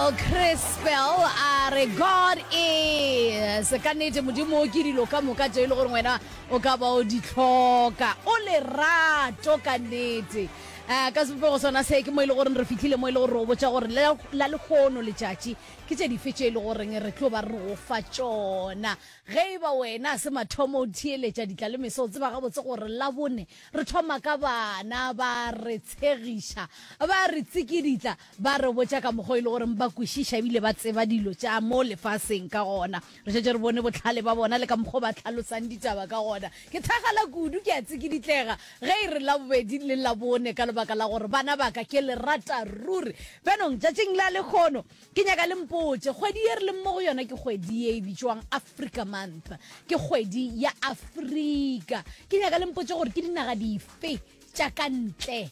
Daniel Crispell a re God is ka nnete modimo ke dilo ka moka tše e le gore wena o ka ba o di hloka o lerato ka nnete um ka sebopego sona se ke mo e le goreng re fihlile mo e le gore re go botša gore la lehono letšatši ke tše dife tše e le goreng re tlo ba re go fa tšona ge e ba wena se mathomo o theeletša ditla le meso o tseba gabotse gore labone Re thoma ka bana, ba re tshegiša, ba re tsikiditla, ba re botša ka mokgwa o e le goreng ba kwešiša ebile ba tseba dilo tša mo lefaseng ka gona. Re šetše re bone bohlale ba bona le ka mokgwa o ba hlalosang ditaba ka gona. Ke thakgala kudu, ke a tsikiditlega ge e re Labobedi le Labone ka lebaka la gore bana ba ka ke le rata ruri. Bjanong, tšatšing la lehono, Ke nyaka le mpotše, kgwedi ye re leng mo go yona ke kgwedi ye e bitšwang Africa Month. Ke kgwedi ya Afrika. Ke nyaka le mpotše gore ke dinaga dife tša ka ntle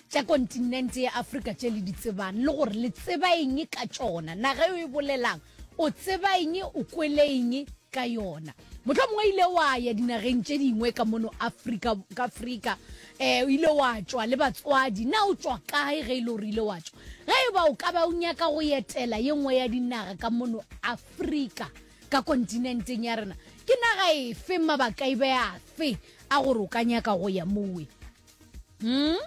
tša kontinente ya Afrika tše le di tsebang le gore le tseba eng ka tšona. Naga eo e bolelang, o tseba eng, o kwele eng ka yona. Mohlomongwe ile wa ya dinageng tše dingwe ka mono Afrika, ka Afrika, eh, o ile wa tšwa le batswadi. Na o tšwa kae ge e le gore ile wa tšwa? Ge e ba o ka ba o nyaka go etela ye nngwe ya dinaga ka mono Afrika, ka kontinenteng ya rena, ke naga efe, mabaka e be afe a gore o ka nyaka go ya mowe? Hmm?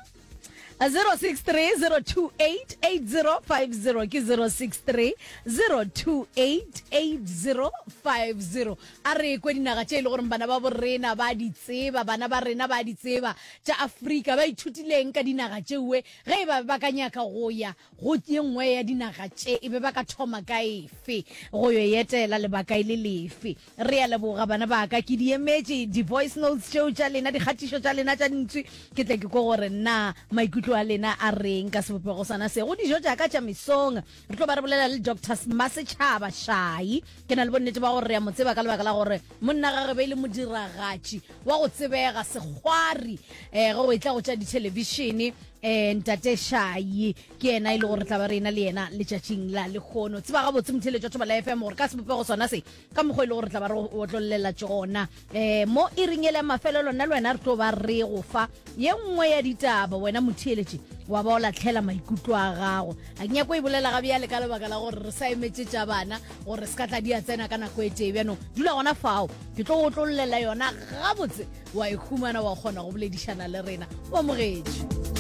0630288050 ke 0630288050 a re kwe dinaga tše e le gore bana ba borena ba di tseba bana ba rena ba di tseba tša afrika ba ithutileng ka dinaga tšeue ge e ba ba ka nyaka go ya go ye nngwe ya dinaga tše e be ba ka thoma ka efe go yo etela lebaka e le lefe Re a leboga bana ba ka, ke di emetše di-voice notes tšeo tša lena, dikgatišo tša lena tša dintši, ke tle ke kwe gore na maikutlo a lena a reng ka sebopego sona se. Go dijo tša ka tša mesong, re tlo ba re bolela le Doctor Mmasetšhaba Shai. Ke na le bonnete ba gore re a mo tseba ka lebaka la gore monna gage be e le modiragatši wa go tsebega, sekgwari, um ge go etla go tša dithelebišene. Um Ntate Shai ke yena e le gore re tla ba re ena le yena letšatšing la lehono. Tseba gabotse motheeletši wa Thobela FM gore ka sebopego sona se, ka mokgwa e le gore tla ba re otlollela tšona um mo e reng ele mafelelo nna le wena re tlo ba re go fa ye nngwe ya ditaba wena motheeletši wa ba o latlhela maikutlo a gago a ke nyako e bolela ga bjale ka lebaka la gore re sa emetse tša bana gore se ka tla di a tsena ka nako e tee bjanong dula gona fao ke tlo otlollela yona gabotse wa e humana wa kgona go boledišana le rena o amogetše.